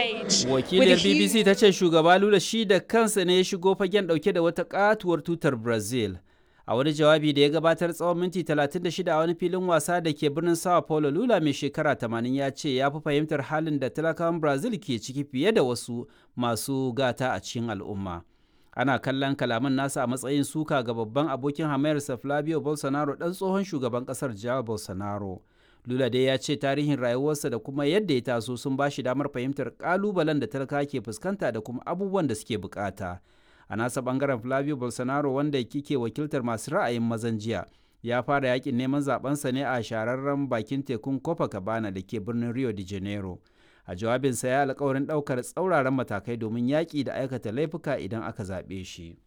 stage. Wakiliyar BBC ta ce shugaba Lula shi da kansa ne ya shigo fagen dauke da wata katuwar tutar Brazil. A wani jawabi da ya gabatar tsawon minti 36 a wani filin wasa da ke birnin Sao Paulo, Lula mai shekara 80 ya ce ya fi fahimtar halin da talakawan Brazil ke ciki fiye da wasu masu gata a cikin al'umma. Ana kallon kalaman nasa a matsayin suka ga babban abokin hamayarsa Flavio Bolsonaro, dan tsohon shugaban kasar Jair Bolsonaro. Lula dai ya ce tarihin rayuwarsa da kuma yadda ya taso sun ba shi damar fahimtar kalubalen da talaka ke fuskanta da kuma abubuwan da suke bukata. A nasa bangaren, Flavio Bolsonaro, wanda kike wakiltar masu ra'ayin mazan jiya, ya fara yakin neman zabensa ne a shahararren bakin tekun Copacabana da ke birnin Rio de Janeiro. A jawabinsa ya alkawarin ɗaukar tsauraran matakai domin yaƙi da aikata laifuka idan aka zaɓe shi.